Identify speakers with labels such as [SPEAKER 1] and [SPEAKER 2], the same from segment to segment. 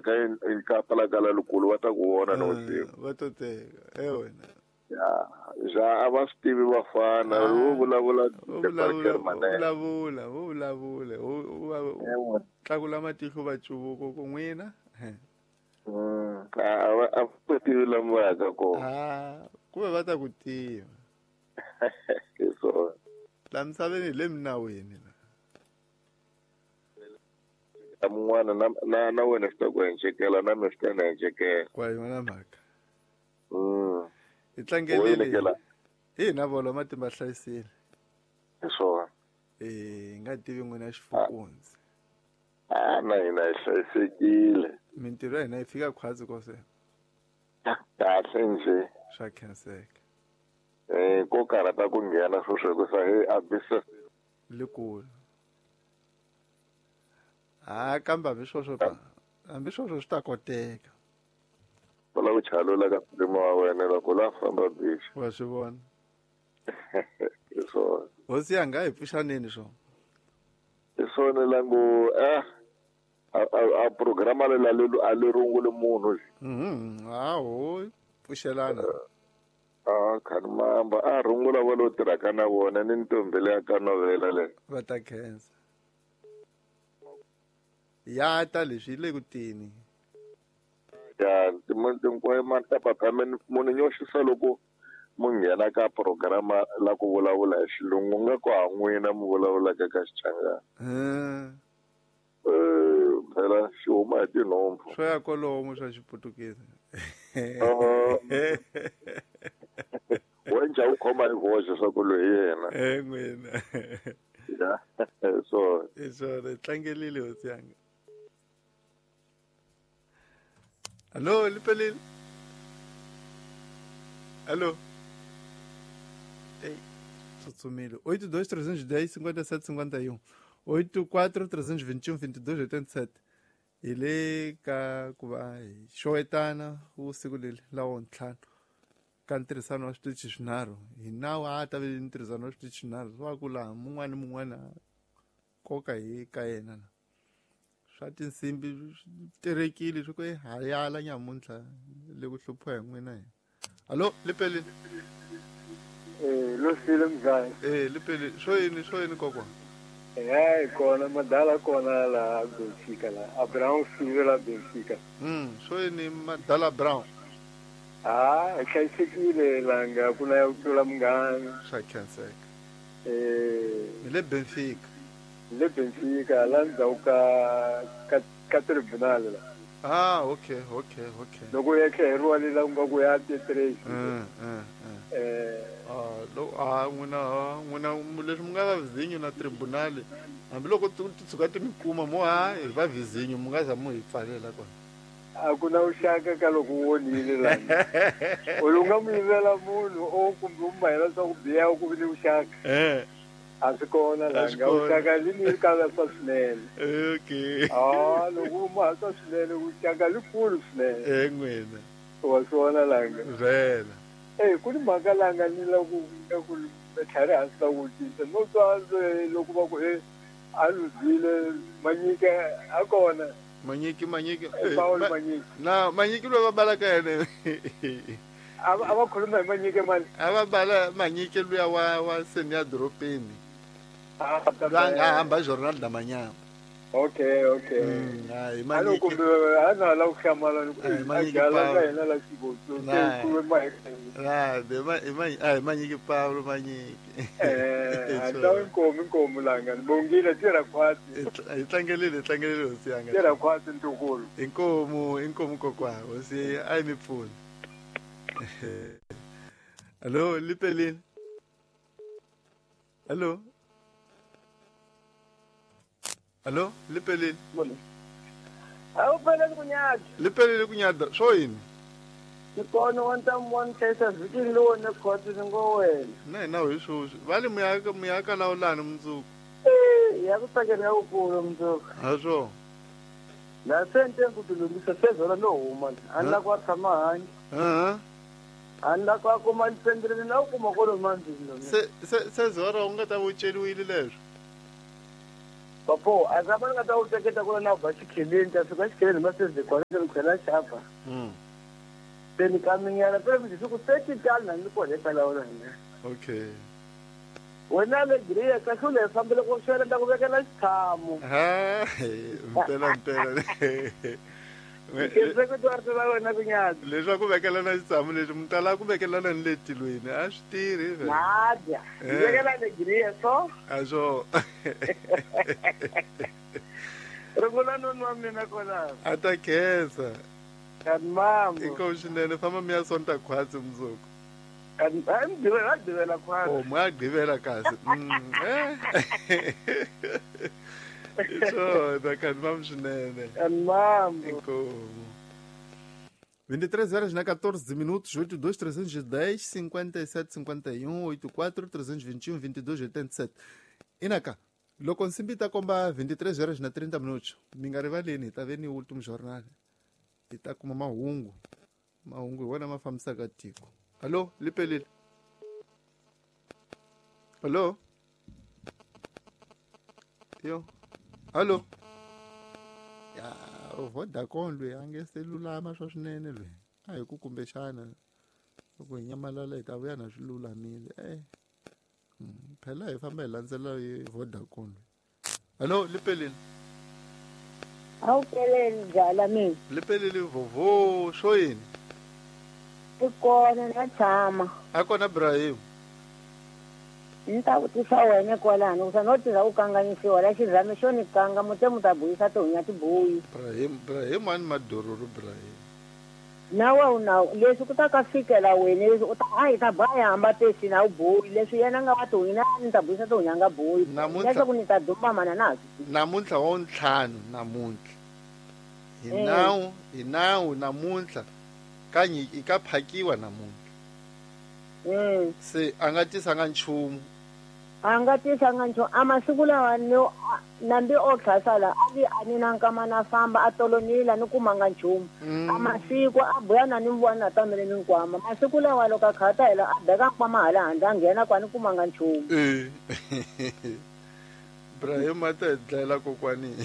[SPEAKER 1] Ka ka la likulu va ta ku vona nivusiku.
[SPEAKER 2] Va to teka e wena.
[SPEAKER 1] Ya, ja a va swi tivi vafana, vo vulavula
[SPEAKER 2] vulavula vo vulavula u tlakula matihlo va cuvuko ku n'wina.
[SPEAKER 1] A va tivi lama va yaka kona.
[SPEAKER 2] Kumbe va ta ku tiva.
[SPEAKER 1] Hi swona.
[SPEAKER 2] La misaveni hi le minawini la.
[SPEAKER 1] Mun'wana na wena swi ta ku encekela na mina swi ta ni encekela.
[SPEAKER 2] Kwa yona mhaka. Hi tlangelile. Hi na volo matimba hlayisile.
[SPEAKER 1] Hi swona.
[SPEAKER 2] Hi nga tivi n'wina Xifukundzi.
[SPEAKER 1] Na hina hi hlayisekile.
[SPEAKER 2] Mintirho ya hina yi fika khwatsi kose.
[SPEAKER 1] Kahle nje.
[SPEAKER 2] Swa khenseka.
[SPEAKER 1] Ko karhata ku nghena sweswo hikusa hi a business
[SPEAKER 2] likulu. Kambe hambi sweswo hambi sweswo swi ta koteka.
[SPEAKER 1] Vula ku chalula ka mpimo wa wena loko la famba bichi.
[SPEAKER 2] Wa swi vona.
[SPEAKER 1] Hi swona.
[SPEAKER 2] Hosi yanga hi pfuxaneni swona.
[SPEAKER 1] Hi swona langu a programa lela a le runguli munhu.
[SPEAKER 2] Hawo pfuxelana.
[SPEAKER 1] Khani mamba a rungula va lo tirhaka na vona ni ntombi leya ka novela le.
[SPEAKER 2] Va ta khensa. Ya ta leswi le ku tini.
[SPEAKER 1] Ya tinkwayo matapapa munhu nyoxisa loko mu nghena ka programa la ku vulavula hi xilungu nga ku ha n'wina mu vulavulaka ka Xichangani. Phela xi huma hi tinhompfu.
[SPEAKER 2] Swo ya kolomo swa Xiputukezi.
[SPEAKER 1] Wenja u khoma hi voxe swa ku loyi yena.
[SPEAKER 2] N'wina.
[SPEAKER 1] Ya, swona.
[SPEAKER 2] Hi swona, tlangelile hosi yanga. Allo, lipelile. Allo. Ei, tsutsumile. 82 310 57 51. 84 321 22 87. Hi le ka ku va hi xowetana vusiku leri lawo ntlhanu ka ntirhisano wa switichi swinharhu. Hi nawu a ta ve ntirhisano wa switichi swinharhu swa ku laha mun'wana ni mun'wana koka hi ka yena na. Swa tinsimbi swi terekile swi ku ha yala nyamuntlha le ku hluphiwa hi n'wina hina. Allo, lipelile.
[SPEAKER 3] Losile mzaya.
[SPEAKER 2] Lipelile. Swo yini kokwa?
[SPEAKER 3] Hi kona madala kona la Benfica la. Abraham Sive la Benfica.
[SPEAKER 2] Swo yini madala Brown?
[SPEAKER 3] Hi hlayisekile langa ku na ya ku tlula munghana.
[SPEAKER 2] Swa khenseka. Hi le Benfica.
[SPEAKER 3] Le Benfica la ndzhaku ka tribunal la.
[SPEAKER 2] Okay.
[SPEAKER 3] Loko ya tlheriwa le la ku nga ku ya T3.
[SPEAKER 2] N'wina leswi mi nga va vizinyo na tribunal hambiloko ti tshuka ti mi kuma mo hi va vizinyo mi nga za mu hi pfalela kona.
[SPEAKER 3] A ku na vuxaka ka loko u onhile lani. U nga mu yivela munhu o kumbe u mahela swa ku biha ku vi ni vuxaka. A swi kona langa vuxaka li ni kala swa swinene.
[SPEAKER 2] Okay.
[SPEAKER 3] Loko u maha swa swinene vuxaka likulu swinene.
[SPEAKER 2] N'wina.
[SPEAKER 3] Wa swi vona langa.
[SPEAKER 2] Vhela.
[SPEAKER 3] Ku ni mhaka langa ni la ku tlhari hansi la ku tisa. No twa loko va ku a luzile Manyike a kona.
[SPEAKER 2] Manyiki.
[SPEAKER 3] Paul Manyiki.
[SPEAKER 2] Na Manyiki loyi va balaka yena.
[SPEAKER 3] A va khuluma hi Manyike mani?
[SPEAKER 2] A va bala Manyike luya wa seni ya doropeni. La nga hamba journal da manyama.
[SPEAKER 3] Okay.
[SPEAKER 2] Hi Manyike.
[SPEAKER 3] Kumbe a na la ku hlamala ni ku
[SPEAKER 2] Manyike
[SPEAKER 3] Paul. Ka hina la Xibotso.
[SPEAKER 2] Hi Manyike Paul Manyike.
[SPEAKER 3] A nkomu langa ni bongile tirha khwatsi.
[SPEAKER 2] Hi tlangelile hosi yanga.
[SPEAKER 3] Tirha khwatsi ntukulu.
[SPEAKER 2] Inkomu kokwa hosi a yi mi pfuni. Allo, lipelile. Allo. Allo, lipelile.
[SPEAKER 4] Awupheleli kunyada.
[SPEAKER 2] Lipelile kunyada. Swo yini?
[SPEAKER 4] Ni kona wa ntamu wa ntlhesa vhikini lowu ne khotsi ni ngo wena.
[SPEAKER 2] Na hina hi sweswi. Va le muyaka lawulani mundzuku.
[SPEAKER 4] Ya ku tsakela ya wukulu mundzuku.
[SPEAKER 2] Ha swona.
[SPEAKER 4] La se ni ku tilunghisa se zola no huma. A ni la ku a tshama hanyi. A ni la ku a kuma ni na ku kuma kolo mandzini.
[SPEAKER 2] Se zora u nga ta va u celiwile leswo.
[SPEAKER 4] Papo a ka va nga ta u teketa ku na ba xikheleni ta fika xikheleni ma se kona ni khela xapa. Se ni kaminyana phela mi ku 30 tani na ni kona kwalaho na hina.
[SPEAKER 2] Okay.
[SPEAKER 4] Wena le Greya kahle le fambele ku xela ta ku vekela xitshamo.
[SPEAKER 2] Ha, mpela mpela. Leswaku vekelana xitshamo leswi mi tala ku vekelana ni le tilweni a swi tirhi
[SPEAKER 4] vele. Nadya. Vekela le Greya so.
[SPEAKER 2] A swo.
[SPEAKER 4] Rungula noni wa mina kona.
[SPEAKER 2] A ta khensa.
[SPEAKER 4] Kanti mambo.
[SPEAKER 2] Inkomu swinene famba mi ya sonta khwatsi mundzuku.
[SPEAKER 4] Kanti a mi gqivela gqivela khwatsi.
[SPEAKER 2] Oh, mi ya gqivela kasi. Swona kanti mamu swinene.
[SPEAKER 4] Kanti mambo.
[SPEAKER 2] Inkomu. 23 horas na 14 minutos, 82 310 57 51 84 321 22 87. Inaka, loko nsimbi ta komba 23 horas na 30 minutos, mi nga rivaleni hi ta ve ni último jornal. Hi ta kuma mahungu. Mahungu hi wona ma fambisaka tiko. Allo, lipelile. Allo. Yo. Allo. Ya, Vodacom loyi a nge se lulama swa swinene loyi. A hi ku kumbexana loko hi nyamalala hi ta vuya na swi lulamile. Phela hi famba hi landzela hi Vodacom loyi. Allo, lipelile.
[SPEAKER 5] A wu peleli byala mina.
[SPEAKER 2] Lipelile vovo swo yini?
[SPEAKER 5] I kona na tshama.
[SPEAKER 2] A kona Ibrahim.
[SPEAKER 5] Ni ta vutisa wena kwalano ku no tirha u kanganyisiwa la xirhami xo ni kanga mute mu ta buyisa tihunya tibuyi.
[SPEAKER 2] Ibrahim Ibrahim ani madororo Ibrahim.
[SPEAKER 5] Nawe una leswi ku ta ka fikela wena leswi u ta a hi ta baya hamba tesi na u buyi leswi yena nga wa tihunya ni ta buyisa tihunya nga buyi. Leswaku ni ta duma mana na.
[SPEAKER 2] Namuntlha wa ntlhanu namuntlha. Hi nawu namuntlha ka nyiki ka phakiwa namuntlha. Se a nga tisanga nchumu.
[SPEAKER 5] A nga tisanga nchumu. A masiku lawa no nambi o tlhasala a vi a ni na nkama na famba a tolonila ni kumanga nchumu. A masiku a buya na ni vona tamele ni nkwama. Masiku lawa loko a khata hela a beka nkwama hala handle a nghena kwa ni kumanga nchumu.
[SPEAKER 2] Ibrahim a ta hi dlayela kokwani.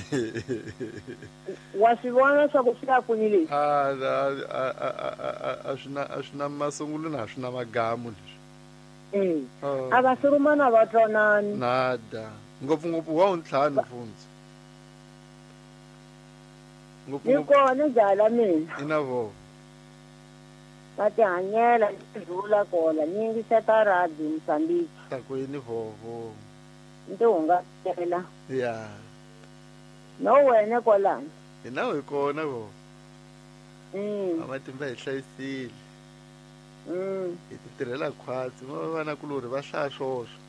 [SPEAKER 5] Wa swi vona leswaku swi ya kwini leswi?
[SPEAKER 2] A swi na masungulo na swi na magamu leswi.
[SPEAKER 5] A va surumana va twanani.
[SPEAKER 2] Nada. Ngopfungopfu wa ntlhanu mfundzi.
[SPEAKER 5] Ni kona byala mina.
[SPEAKER 2] Ina vo.
[SPEAKER 5] Va tihanyela ni kona ni yingiseta radio Mozambique.
[SPEAKER 2] Ta ku yini vovo.
[SPEAKER 5] Ndi hungasela.
[SPEAKER 2] Ya.
[SPEAKER 5] No wena kwalano.
[SPEAKER 2] Hi nawu hi kona vo. Matimba hi hlayisile. Hi ti tirhela khwatsi va vanakulorhi va hlaya swoswo.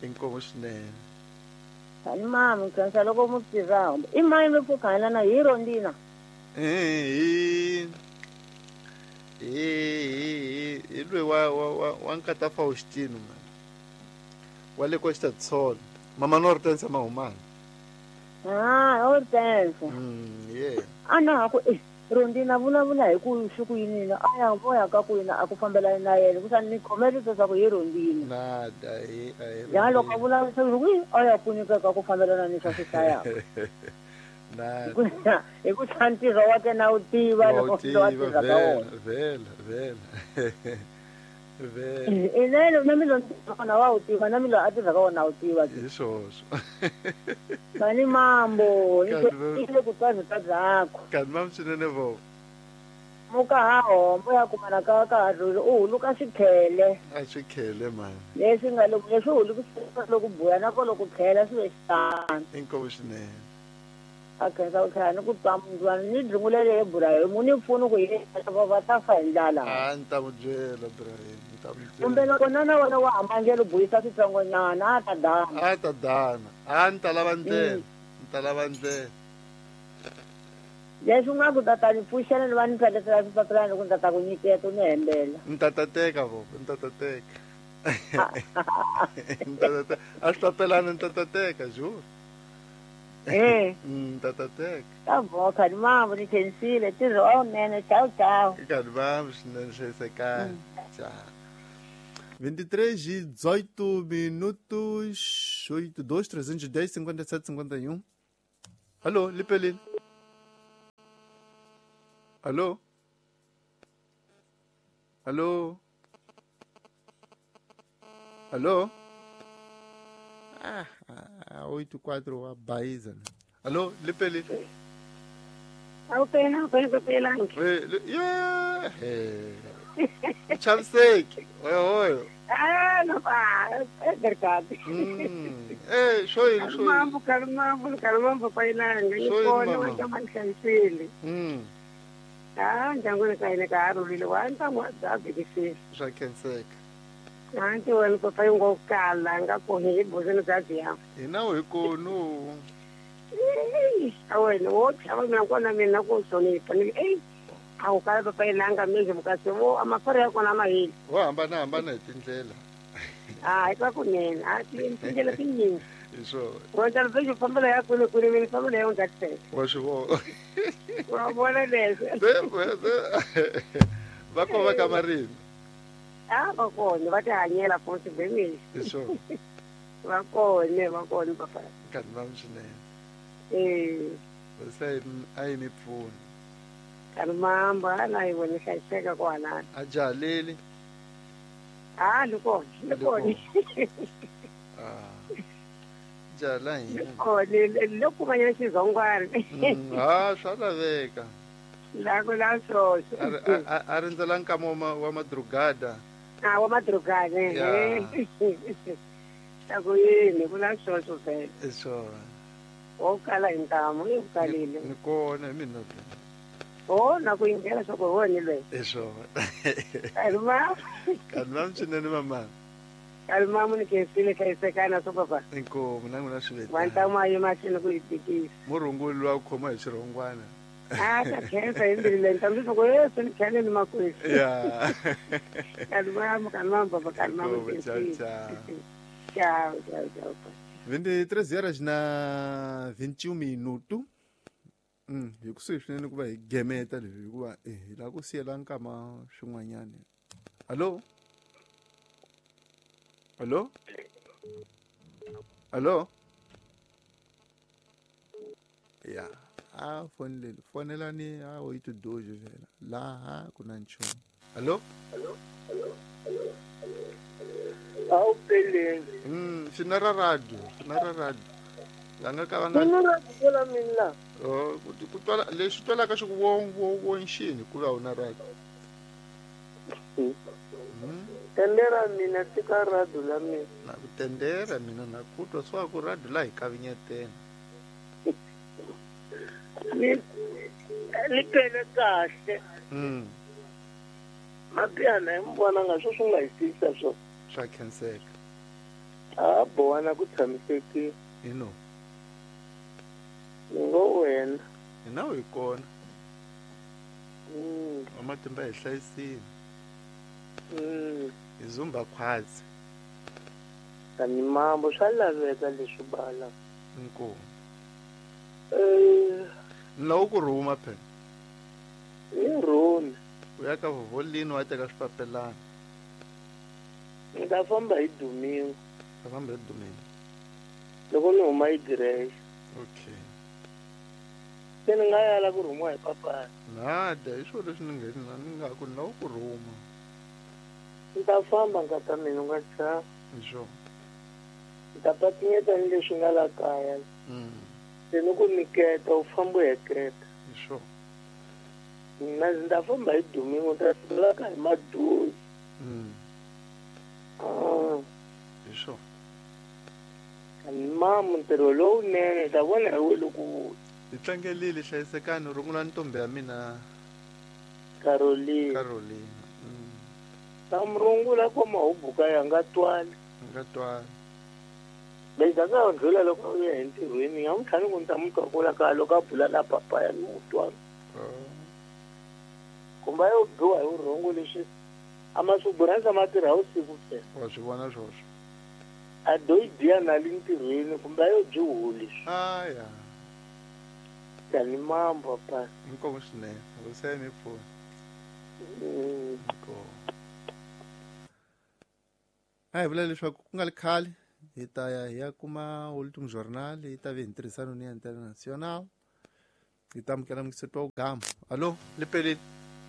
[SPEAKER 2] Inkomu swinene.
[SPEAKER 5] Tani mama khensa loko mu tirha. I mani mi pfukana na hi Rondina?
[SPEAKER 2] Hi hi loyi wa nkata Faustino man. Wa le Costa Sol. Mama no Hortense Mahumana.
[SPEAKER 5] Ah, Hortense.
[SPEAKER 2] Yeah.
[SPEAKER 5] Ana ku Rondina vulavula hi ku swi ku yini a ya voya ka ku yini a ku fambela na yena ku ni khomele leswaku hi Rondina.
[SPEAKER 2] Nada hi
[SPEAKER 5] ya loko vulavula ku a ya pfunika ka ku fambelana ni swa swisaya.
[SPEAKER 2] Nada.
[SPEAKER 5] Hi ku ntirho wa kena u tiva loko wa tirha ka wona.
[SPEAKER 2] Vela vela. Vela.
[SPEAKER 5] Inene na milo na wa u tiva na milo a tirha ka wona u tiva.
[SPEAKER 2] Hi swoswo.
[SPEAKER 5] Mani mambo, ni ku twa ta byakho.
[SPEAKER 2] Kanti mam swinene vo.
[SPEAKER 5] Muka ha hombo ya kumana ka ka u huluka swikhele.
[SPEAKER 2] A swikhele mani.
[SPEAKER 5] Leswi nga loko leswi huluka loko buya na ko loko khela swi ve xitano.
[SPEAKER 2] Inkomu swinene.
[SPEAKER 5] A khensa u tlhela ni ku twa mundwana ni dlungulele Ibrahim ni pfuni ku yena va ta fa hi ndlala.
[SPEAKER 2] A ni ta mu byela Ibrahim, ni ta mu byela.
[SPEAKER 5] Kumbe loko nana wena wa hamangelo buyisa switsongonyana a ta dana.
[SPEAKER 2] A ta dana. A ni ta lava ndlela. Ni ta lava ndlela.
[SPEAKER 5] Leswi u nga ku tata ni pfuxela ni va ni pheletela swipapilana loko ni tata ku nyiketa u ni hembela.
[SPEAKER 2] Ni tata teka vo, ni tata teka. Ni tata a swipapilana ni tata teka jure. Tata teka.
[SPEAKER 5] Ta vo khani mambo ni khensile tirho wa wunene ciao ciao.
[SPEAKER 2] Khani mambo swinene hlayisekani. Ciao. 23 e 18 minutos, 82 310 57 51. Alô, Lipelin. Alô? Alô? Alô? Ah, 84 a Baíza. Alô, Lipelin.
[SPEAKER 6] Awupela awupela.
[SPEAKER 2] Yeah. Chaviseki. Oyo oyo.
[SPEAKER 6] Ah, não pá, é verdade.
[SPEAKER 2] Eh, show show.
[SPEAKER 6] Mambo, kalmambo, kalmambo pailanga. Ikona wanta manhlayisile. Ah, ndyangwini ka hina ka ha rhulile wa ntamu a bya bikisile.
[SPEAKER 2] Swa khenseka.
[SPEAKER 6] Anti wena papa yi ngo kala nga kona hi bozeni bya biya.
[SPEAKER 2] Hina hi konu.
[SPEAKER 6] A wena wo chava mina kona mina ku hlonipha ni ey a wu kala papa ilanga manje mukasi wo amafari ya kona ma heli.
[SPEAKER 2] Wo hambana hambana hi tindlela.
[SPEAKER 6] Ah, eka kunene a tindlela tinyingi.
[SPEAKER 2] Hi swona.
[SPEAKER 6] Wena lexi fambela ya kule kule mina fambela ya undzatiseka.
[SPEAKER 2] Wa swi vona.
[SPEAKER 6] Wa vona leswi.
[SPEAKER 2] Va ko va ka marimi.
[SPEAKER 6] Ah, va kona va tihanyela futhi bemile.
[SPEAKER 2] Hi swona.
[SPEAKER 6] Va kona va kona papa.
[SPEAKER 2] Nkarhi va swinene.
[SPEAKER 6] Eh.
[SPEAKER 2] Se a yi mi pfuni.
[SPEAKER 6] Kalmamba ana yi vona hlayiseka kwalano.
[SPEAKER 2] A jahaleli.
[SPEAKER 6] Ah, ni kona ni kona.
[SPEAKER 2] Ah. Jahala hina.
[SPEAKER 6] Kona loko kumanyana xizongwana.
[SPEAKER 2] Ah, swa laveka.
[SPEAKER 6] La ku la swoswo.
[SPEAKER 2] A rindzela nkama wa madrugada.
[SPEAKER 6] Ah, wa madrugada. Ta ku yini ku la swoswo vhele.
[SPEAKER 2] Hi swona.
[SPEAKER 6] Wo kala hi ntamu i kalile.
[SPEAKER 2] Ni kona hi mina.
[SPEAKER 6] Oh, na ku yingela swa ku hi wona loyi.
[SPEAKER 2] Hi swona.
[SPEAKER 6] Kalma.
[SPEAKER 2] Kalma swinene mama.
[SPEAKER 6] Kalma mu ni khensile hlayisekana swo papa.
[SPEAKER 2] Inkomu na n'wina swi
[SPEAKER 6] Va ntamu a yi mahlweni ku yi tikisa.
[SPEAKER 2] Murhunguli luwa ku khoma hi xirhongwana.
[SPEAKER 6] Ah, ta khensa hi mbilu leyi ntamu leswaku yesu ni kheleni makwenu.
[SPEAKER 2] Ya.
[SPEAKER 6] Kalma kalma papa kalma mu
[SPEAKER 2] Ciao ciao.
[SPEAKER 6] Ciao ciao ciao.
[SPEAKER 2] 23 horas na 21 minuto. Hi kusuhi swinene ku va hi gemeta leswi hikuva hi lava ku siyela nkama swin'wanyana. Allo? Allo? Allo? Ya, a foneleni, fonelani a 82 vhela. Laha ku na nchumu. Allo?
[SPEAKER 4] A wu peleni.
[SPEAKER 2] Swi na ra radio, swi na ra radio. La nga ka va nga
[SPEAKER 4] Mina ra ku mina.
[SPEAKER 2] Oh, ku twala leswi twalaka swi ku wo wo wo nxini ku va u na radio.
[SPEAKER 4] Tendera mina tika radio la mina.
[SPEAKER 2] Na ku tendera mina na ku twa swa ku radio la hi kavinyetela.
[SPEAKER 4] Ni pele kahle. Mabiyana hi mbona nga swo swi nga hi tisa swo.
[SPEAKER 2] Swa khenseka.
[SPEAKER 4] A bowana ku tshamisekile.
[SPEAKER 2] Ino.
[SPEAKER 4] Ni ngo wena.
[SPEAKER 2] Hina hi kona. Wa matimba hi hlayisile. Hi zumba khwazi.
[SPEAKER 4] Tani mambo swa laveka leswi bala.
[SPEAKER 2] Inkomu. Ni lava ku rhuma phela.
[SPEAKER 4] Ni rhumi.
[SPEAKER 2] U ya ka vovolini wa teka swipapelana.
[SPEAKER 4] Ni ta famba hi domingo.
[SPEAKER 2] Ta famba hi domingo.
[SPEAKER 4] Loko ni huma hi direxe.
[SPEAKER 2] Okay.
[SPEAKER 4] Se ni nga yala ku rhumiwa hi papa.
[SPEAKER 2] Nada, hi swona leswi ni nga ni nga ku ni lava ku rhuma.
[SPEAKER 4] Ni ta famba nkata mina u nga chavi.
[SPEAKER 2] Hi swona.
[SPEAKER 4] Ni ta patinyeta ni leswi nga la kaya. Se ni ku niketa u famba u heketa.
[SPEAKER 2] Hi swona.
[SPEAKER 4] Mina ndzi ta famba hi domingo ta sungula ka hi maduzi.
[SPEAKER 2] Hi swona.
[SPEAKER 4] Mamu ntirho lowunene ta vona hi we loko wu
[SPEAKER 2] Hi tlangelile hlayisekani rungula ntombi ya mina
[SPEAKER 4] Caroline.
[SPEAKER 2] Caroline.
[SPEAKER 4] Ta murungula ko mahubuka ya nga twali.
[SPEAKER 2] Nga twali.
[SPEAKER 4] Lexi a nga ndlula loko u ya entirhweni nga n'wi tlhani ku ni ta n'wi twa kula ka loko a bula na papa ya ni n'wi twa. Kumbe a yo biwa hi vurhongo leswi a masuburanisa ma tirha vusiku ntsena.
[SPEAKER 2] Wa swi vona swoswo.
[SPEAKER 4] A do yi biya na le ntirhweni kumbe a yo byi huli.
[SPEAKER 2] Ah ya.
[SPEAKER 4] Tani mambo papa.
[SPEAKER 2] Inkomu swinene. Hosi ya mi pfuna. Inkomu. A hi vula leswaku ku nga li khale hi ta ya hi ya kuma Ultim Journal yi ta ve hi ntirhisano ni ya International. Hi ta amukela mukiseti wa Ugama. Alo, li pelile.